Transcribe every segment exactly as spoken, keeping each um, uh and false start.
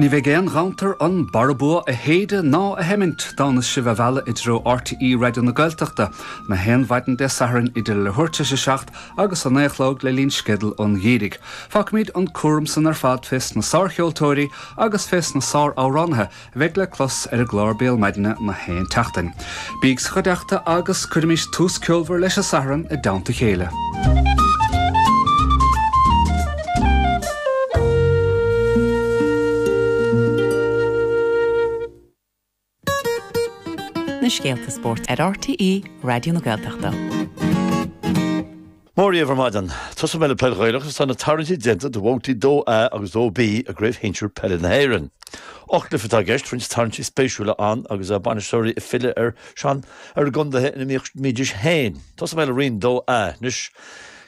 Ní bheidh aon ghanntar an barabua a shéideadh ná a sheimint dá mbeas sibh á mhealladh i dtreo RTÉ Raidió na Gaeltachta na haon mhaidin Dé Sathairn idir leathuair tar éis a seacht agus a naoi a chlog le linn sceideal an gheimhridh. Fágfaimid an cúram san ar fad fés na sárcheoltóirí agus fés na sáramhránaithe a bheidh le clos ar an gclár Béal Maidine na haon tseachtain. Bíg sa chuideachta agus cuirimis tús ceolmhar leis an Satharn i dteannta a chéile. Na scéalta spóirt ar RTÉ Raidió na Gaeltachta. Mora dhaoibh ar maidin. Tosóidh mé le peil Ghaelach agus tá na tarraingtí déanta do bhabhtaí dó A agus dó B i gCraobh Shinsir Peile na hÉireann. Ocht gcluiche atá i gceist, roinnt tarraingtí spéisiúla ann agus bainisteoirí ag filleadh ar sean ar a gcontaetha ina mbídís féin. Tosóidh mé le Roinn dó A anois.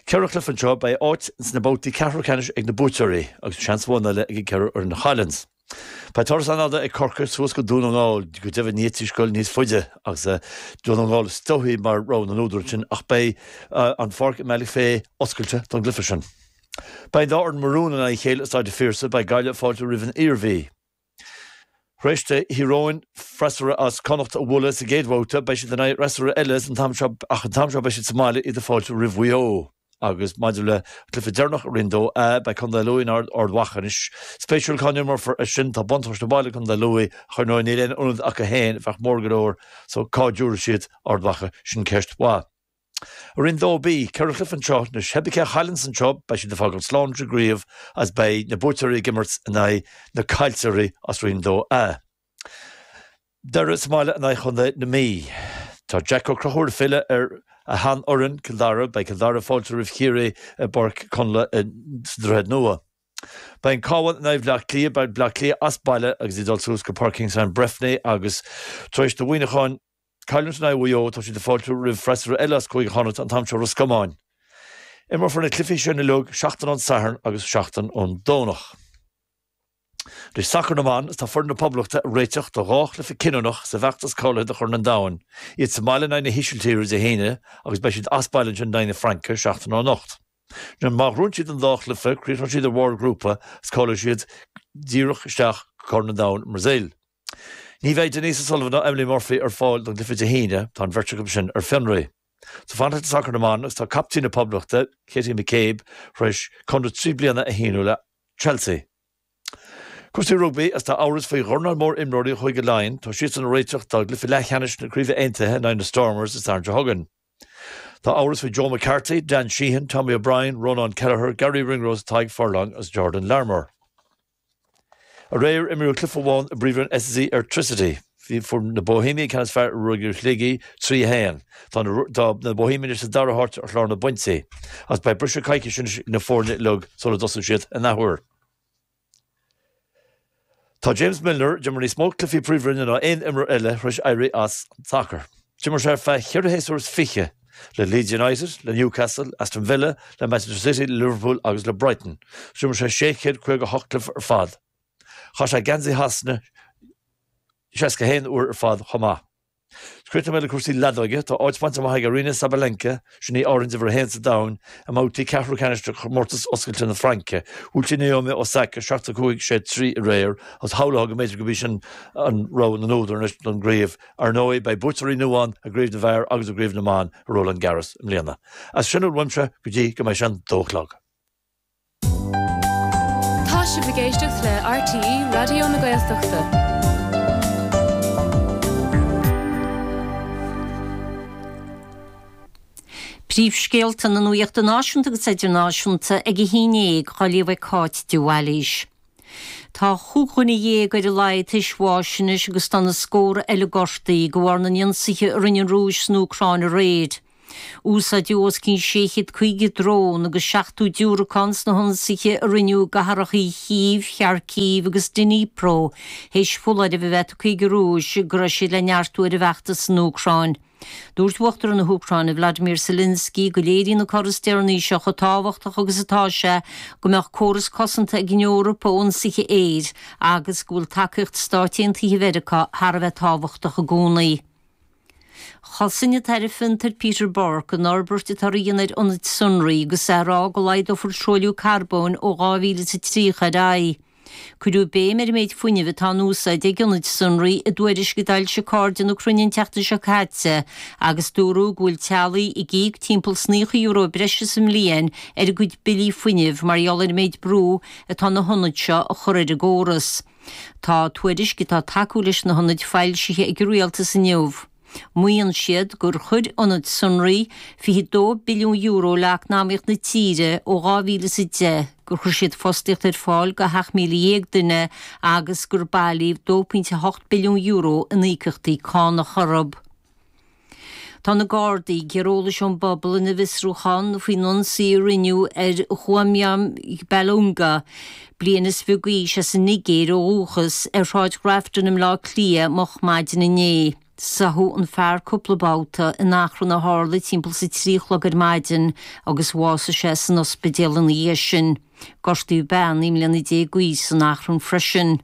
Ceithre chluiche anseo, beidh áit sna babhtaí ceathrú ceannais ag na buaiteoirí agus seans amháin eile ag an gceithre fhoireann a chailleanns. Beidh turas an-fhada ag Corcaigh suas go Dún na nGall, go deimhin ní fhéadfaidís dul níos faide agus Dún na nGall is dóichí mar rogha na n-údar ansin ach beidh an pháirc i mBealach Féich oscailte don gcluiche sin. Beidh an dá fhoireann Maroon in aghaidh a chéile i Staid an Phiarsaigh, beidh Gaillimh ag fáiltiú roimh an Iarmhí. Tar éis do Thír Eoghain freasúra as Connacht a bhualadh sa gcéad bhabhta, beidh siad in aghaidh fhreasúra eile an t-am seo ach an t-am seo beidh siad sa mbaile, iad ag fáiltiú roimh Mhaigh Eo. Agus maidir le cluiche deireanach i Roinn dó A, beidh Contae Lú in Ard Mhacha anois. Spéisiúil cá n-imreofar é sin, tá buntáiste baile ag Contae Lú, ach ar ndóigh níl aon ionad acu féin a bheadh mór go leor, so cá dtabharfaidh siad Ard Mhacha, sin ceist mhaith. I Roinn dó B, ceithre chluiche anseo anois, pé cé a chailleanns anseo, beidh siad ag fágáil slán leis an gcraobh agus beidh na buaiteoirí ag imirt in aghaidh na caillteoirí as Roinn dó A. Doire sa mbaile in aghaidh Chontae na Mí. Tá Jack Ó Conchúir ag filleadh ar a sheanfhoireann, Cill Dara. Beidh Cill Dara ag fáiltiú roimh Chiarraí i bPáirc Chonla sa Droichead Nua. Beidh an Cabhán in aghaidh Bhaile Átha Cliath. Beidh Bleá Cliath as baile agus iad ag dul suas go Páirc Kingspan Breffni agus tar éis do Mhuineachán cailliúint in aghaidh Mhaigh Eo, tá siad ag fáiltiú roimh freasúra eile as Cúige Chonnacht, an t-am seo Ros Comáin. Imreofar na cluichí sin uilig seachtain ón Satharn agus seachtain ón Domhnach. Anois sacar na mban, is tá foireann na Poblachta ag réiteach do dhá chluiche cinniúnach sa bhfeachtas cáilithe do Chorn an Domhain, iad sa mbaile in aghaidh na hÍsiltíre Dé hAoine agus beidh siad as baile ansin in aghaidh na Fraince seachtain ó anocht. Má ghnóthaíonn siad an dá chluiche, críochnóidh siad ar bharr a ngrúpa agus cáileoidh siad díreach isteach go Corn an Domhain i mBrasaíl. Ní bheidh Denise O'Sullivan ná Emily Murphy ar fáil don gcluiche Dé hAoine, tá an bheirt acu sin ar fionraí. So fanacht le sacar na mban agus tá captaen na Poblachta, Katie McCabe, tar éis conradh trí bliana a shíniú le Chelsea. Cúrsaí rugbaí agus tá amhras faoi dhornán mór imreoirí Chúige Laighean, tá siadsan ag réiteach dá gcluiche leathcheannais na Craoibhe Aontaithe in aghaidh na Stormers Dé Sathairn seo chugainn. Tá amhras faoi Joe McCarthy, Dan Sheehan, Tommy O'Brien, Rónán Kelleher, Garry Ringrose, Tadhg Furlong agus Jordan Larmour. Aréir imríodh cluiche amháin i bPríomhroinn SSE Airtricity. Bhí fuair na Bohemiaigh an ceann is fearr ar Ruagairí Shligigh, trí a haon. Tá na Bohemiaigh anois sa dara háit ar chlár na bpointí. Agus beidh briseadh coicíse anois ag na foirne uilig sula dtosóidh siad an athuair. Tá James Milner, a d'imir níos mó cluichí Príomhroinne ná aon imreoir eile, tar éis éirí as an sacar. D'imir sé ar feadh cheithre shéasúr is fiche le Leeds United, le Newcastle, Aston Villa, le Manchester City, le Liverpool agus le Brighton. D'imir sé sé chéad caoga a hocht cluiche ar fad. Chaith sé geansaí Shasana seasca a haon uair ar fad chomh maith. Críochnóidh mé le cúrsaí leadóige. Tá áit bainte amach ag Aryna Sabalenka, sin í áirithint uimhir a haon sa domhan, i mbabhtaí ceathrú ceannais de chomórtas oscailte na Fraince. Bhuail sí Naomi Osaka seacht a cúig, sé trí aréir agus shamhlófá go mb'fhéidir gurb í sin an rogha na n-údar anois don gcraobh. Ar ndóigh, beidh buaiteoirí nua ann i gcraobh na bhfear agus i gcraobh na mban i Roland Garros i mbliana. As sin a bhfuil uaimse go dtí go mbeidh sé an dó a chlog. Tá sibh ag éisteacht le RTÉ Raidió na Gaeltachta. Príomhscéalta na nuachta náisiúnta agus idirnáisiúnta ag a haon déag á léamh ag Cáit de Bhailís. Tá chúig dhuine dhéag ar a laghad tar éis bháis anois agus tá na scórtha eile gortaithe de bharr na n-ionsaithe a rinne an Rúis san Úcráin aréir. Úsáideadh os cionn sé chéad caoga drón agus seachtó diúracán sna hionsaithe a rinneadh i gcathracha Chív, Kharkiv agus Dnipro théis foláireamh a bheith tugtha ag an Rúis go raibh siad le neartú ar a bhfeachtas san Úcráin. Dúirt Uachtarán na hÚcráine Vladimir Zelensky go léiríonn an cor is deireanaí seo chomh tábhachtach agus atá sé go mbeadh córas cosanta ag an Eoraip ó ionsaithe aeir agus go bhfuil tacaíocht Stáit Aontaithe Mheiriceá thar a bheith tábhachtach i gcónaí. Chosain an tAire Fiontair Peter Burke an fhorbairt atáthar a dhéanamh ar ionaid sonraí agus é ag rá go laghdófar truailliú carbóin ó dhá mhíle is a tríocha ar aghaidh. Cuireadh béim ar an méid fuinnimh atá in úsáid ag ionaid sonraí i dtuairisc a d'fhoilsigh Cairde na Cruinne an tseachtain seo caite agus dúradh go bhfuil teaghlaigh ag íoc timpeall 's naocha euro breise sa mbliain ar a gcuid billí fuinnimh mar gheall ar an méid brú atá na hionaid seo a chur ar an gcóras. Tá tuairisc atá ag tacú leis na hionaid foilsithe ag an rialtas inniu. Maíonn siad gur chuir ionaid sonraí fiche dó billiún euro le eacnamaíocht na tíre ó dhá mhíle is a deich, gur chuir siad fostaíocht ar fáil do sheacht míle dhéag duine agus gur bailíodh dó pointe a hocht billiún euro in íocaíochtaí cánach orthu. Tá na Gardaí ag iarraidh eolais ón bpobal ina bhfiosrúchán faoin ionsaí a rinneadh ar Chuamyam Balunga, bliain is fiche d'aois as an Nigéir ó dhúchas, ar Shráid Ghrafton i mBleá Cliath moch maidin inné. Sáthadh an fear cúpla babhta in achrann a tharla timpeall 's a trí a chlog ar maidin agus bhásaigh sé san ospidéal ina dhiaidh sin. Gortaíodh bean naoi mbliana déag d'aois san achrann freisin.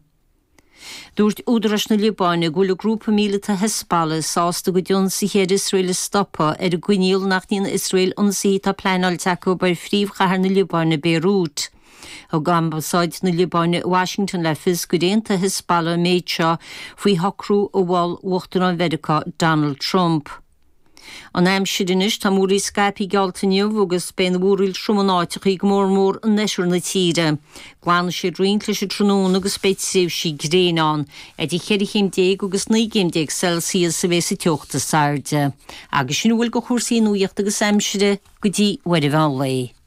Dúirt údaráis na Liobáine go bhfuil an grúpa míleata Hezbollah sásta a gcuid ionsaithe ar Iosrael a stopadh ar an gcoinníoll nach ndéanfaidh Iosrael ionsaithe atá pleanáilte acu ar phríomhchathair na Liobáine, Béirút. Thug Ambasáid na Liobáine i Washington le fios gur aontaigh Hezbollah an méid seo faoi shocrú a mhol Uachtarán Mheiriceá Donald Trump. An aimsir anois, tá múraíl scaipthe geallta inniu agus beidh an mhúraíl trom in áiteachaí, go mór mór in oirthear na tíre. Glanfaidh sé roinnt leis an tráthnóna agus beidh tréimhsí gréine ann. Idir cheithre chéim déag agus naoi gcéim déag Celsius a bheas an teocht is airde. Agus sin a bhfuil de chúrsaí nuachta agus aimsire go dtí uair an mheán lae.